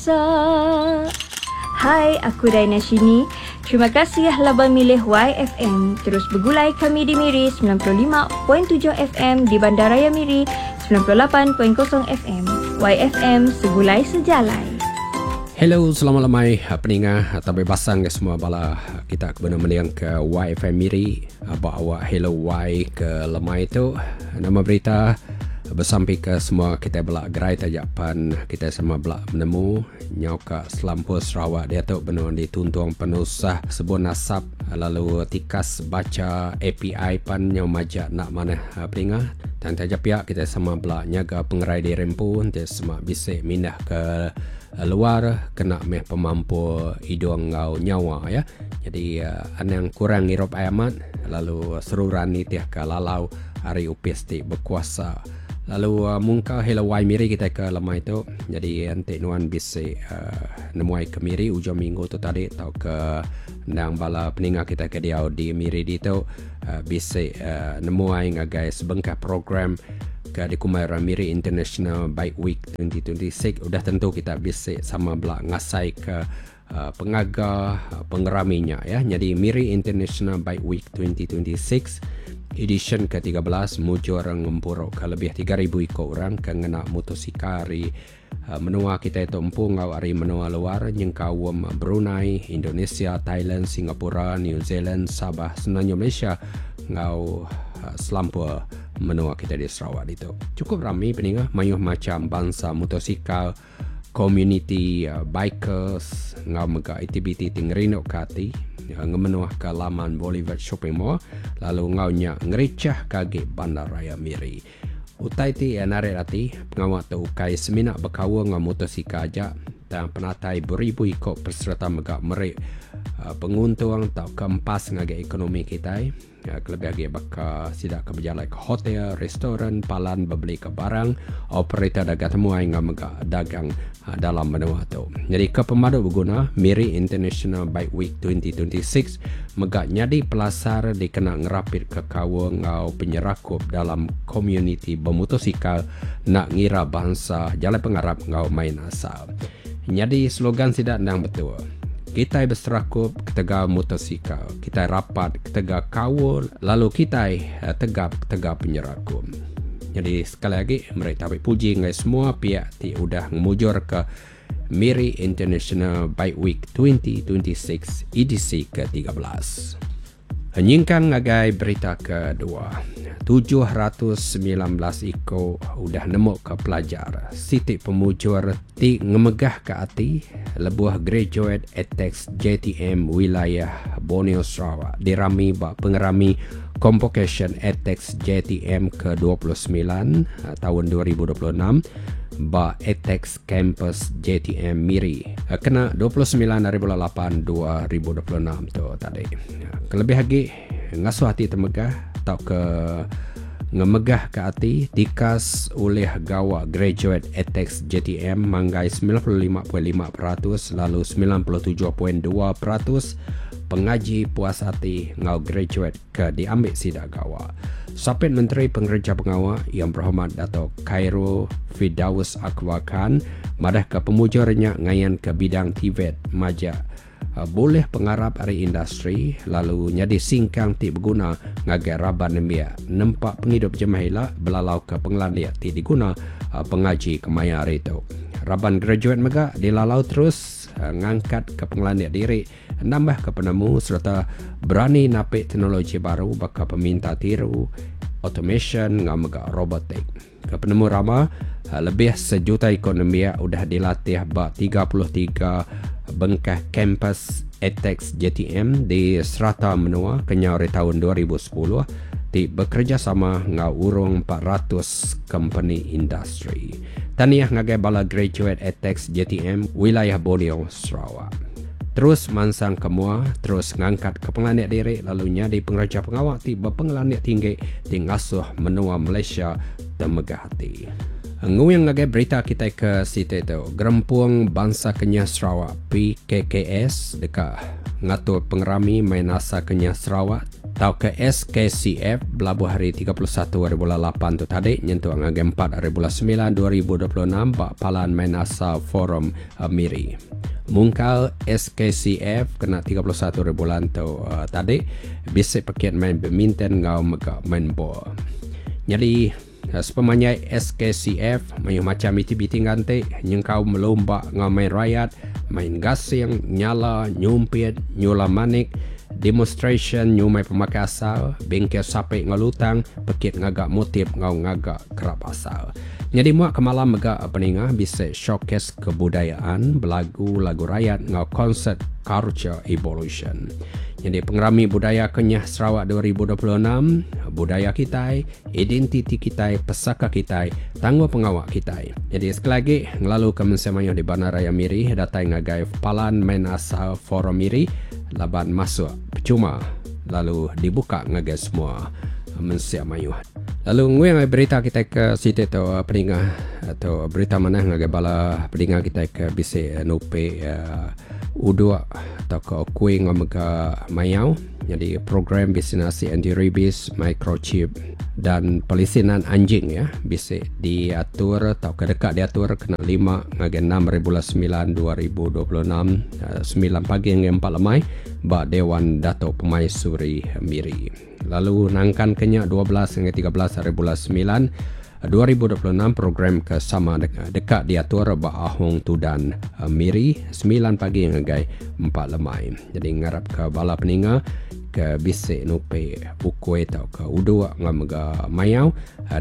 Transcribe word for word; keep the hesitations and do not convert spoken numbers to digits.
Hai, aku Raina Shini. Terima kasih laban milih Y F M. Terus begulai kami di Miri sembilan puluh lima perpuluhan tujuh F M, di Bandaraya Miri sembilan puluh lapan perpuluhan kosong F M. Y F M, Segulai Sejalai. Hello, selamat lemai peninga atau bebasang ke semua bala kita ke benar mending ke Y F M Miri ba awak Hello Y ke lemai tu. Nama berita? Besampi ke semua kita belak gerai tajapan kita sama belak menemu nyau ka selampur Sarawak dia tu benar dituntung penusah sebun asap, lalu tikas baca A P I pan nyau majak nak mana peninga. Dan taja pihak, kita sama belak nyaga pengerai di rempu. Nanti semua bisa mindah ke luar kena meh pemampu hidung ngau nyawa ya. Jadi uh, anang kurang ngirup air amat, lalu seruran nitih ke lalau hari upis ti berkuasa. Lalu uh, mungka Hello Y Miri kita ke lemai tu. Jadi nanti nuan bisa uh, nemuai ke Miri ujung minggu tu tadi atau ke nang bala peninga kita ke dia di Miri di tu uh, bisa uh, nemuai ngagai sebengkah program ke di Kumaira Miri International Bike Week dua ribu dua puluh enam, udah tentu kita bisa sama belak ngasai ke uh, pengaga uh, pengeraminya ya. Jadi Miri International Bike Week dua ribu dua puluh enam edition ketiga belas mujur ngempuruk ke lebih tiga ribu ikut orang ke ngena motosikal hari uh, menua kita itu empu ngau hari menua luar nyengkawam Brunei, Indonesia, Thailand, Singapura, New Zealand, Sabah, Semenanjung Malaysia ngau uh, selampur menua kita di Sarawak itu. Cukup ramai peninga, mayuh macam bangsa motosikal, community uh, bikers ngau mega aktiviti tingrinok kati uh, ngemenuh ke laman Boulevard Shopping Mall, lalu ngau nya ngericah kage Bandaraya Miri. Utai ti uh, narik hati, pengawak tu ukai semina berkawa ngau motosikal aja dan penatai beribu ikut peserta mega merik uh, penguntung atau kempas ngagai ekonomi kita ya, kelebih lagi baka sidak ke berjalan ke hotel, restoran, palan berbeli ke barang, operator dagang temuai ngau mega dagang uh, dalam menua tu. Jadi ke pemadu berguna, Miri International Bike Week dua ribu dua puluh enam mega nyadi pelasar dikena ngerapit ke kawa ngau penyerakup dalam komuniti bermotosikal nak ngira bangsa, jalan pengarap ngau main asal. Jadi slogan sidak nang betul. Kita berserakup ketegal motosikal, kita rapat ketegal kawul, lalu kita eh, tegap ketegal penyerakup. Jadi sekali lagi mereka tarik puji ngai semua pihak ti udah ngemujur ke Miri International Bike Week dua ribu dua puluh enam edisi ketiga belas. Nyingkang ngagai berita kedua. tujuh ratus semilan belas iko udah nemu ke pelajar. Siti pemujur ti ngemegah ke ati lebuh graduate ADTEX J T M wilayah Borneo Sarawak dirami ba pengerami Convocation ADTEX J T M kedua puluh sembilan eh, tahun dua ribu dua puluh enam ba ADTEX Campus J T M Miri. Eh, Kena dua puluh sembilan hari bulan lapan dua ribu dua puluh enam tu tadi. Kelebih lagi ngasuh hati temegah atau ke ngemegah ke hati, tikas oleh gawa graduate ADTEX J T M manggai sembilan puluh lima perpuluhan lima peratus, lalu sembilan puluh tujuh perpuluhan dua peratus pengaji puas hati ngau graduate ke diambil sidak gawa. Sapit Menteri Pengerja Pengawa, Yang Berhormat Dato' Khairul Firdaus Akbar Khan madah ke pemujurnya ngayan ke bidang TVET majak uh, boleh pengarap ari industri, lalu nyadi singkang ti berguna ngagai raban nembiak nempak penghidup jemah belalau ke pengelandia ti diguna uh, pengaji kemaya hari itu. Raban graduate mega dilalau terus uh, ngangkat ke pengelandia diri, nambah ke penemu serta berani napik teknologi baru baka peminta tiru, automation ngau mega robotik. Ke penemu rama, uh, lebih sejuta ekonomi udah dilatih ba tiga puluh tiga bengkah kampus ADTEX J T M di serata menua kenyau dari tahun dua ribu sepuluh ti bekerjasama ngau urung empat ratus company industri. Tahniah ngagai bala graduate ADTEX J T M wilayah Borneo Sarawak. Terus mansang ke mua, terus ngangkat ke pengelandik diri, lalu nyadi pengerja pengawak ti berpengelandik tinggi ti ngasuh menua Malaysia temegah hati. Nguyang ngagai berita kita ke situ itu. Gerempung Bangsa Kenyah Sarawak P K K S dekat ngatur pengerami main asa Kenyah Sarawak Tau ke S K C F belabuh hari tiga puluh satu hari bulan lapan tu tadi nyentuh ngagai empat hari bulan sembilan dua ribu dua puluh enam ba Palan Main Asal Forum uh, Miri. Mungkal S K C F kena tiga puluh satu hari bulan tu uh, tadi bisa paket main badminton ngau mega main bola. Jadi uh, sepemanjai S K C F mayu macam aktiviti ganti nyengkau melomba ngau main rakyat, main gasing, nyala, nyumpit, nyula manik, demonstration nyumai pemakai asal, bengkel sape ngau lutang, pekit ngagak motif ngau ngagak kerap asal. Jadi muak ke malam mega peningah bisa showcase kebudayaan, belagu lagu rakyat ngau konsert Culture Evolution. Jadi pengerami budaya Kenyah Sarawak dua ribu dua puluh enam, budaya kita, identiti kita, pesaka kita, tangguh pengawak kita. Jadi sekali lagi, ngelalu ke Mensia di Bandaraya Miri, datang ngagai Palan Main Asal Forum Miri, laban masuk percuma lalu dibuka ngagai semua mensia mayuh. Lalu nguyang berita kita ke siti tu peningah atau berita mana ngagai bala peningah kita ke bisi nupi uh, uduk atau ke kuih ngomega mayau. Jadi program vaksinasi anti rabies, microchip dan pelisinan anjing ya bisa diatur atau ke dekat diatur kena lima ngagai enam hari bulan sembilan dua ribu dua puluh enam, sembilan pagi hingga empat lemai ba Dewan Dato Permaisuri Miri. Lalu nangkan kenya dua belas hingga tiga belas hari bulan sembilan dua ribu dua puluh enam program ke sama dekat, dekat diatur ba Ahong Tudan eh, Miri sembilan pagi ngagai empat lemai. Jadi ngarap ke bala peninga ke bisik nupe ukui atau ke uduk ngamega mayau uh,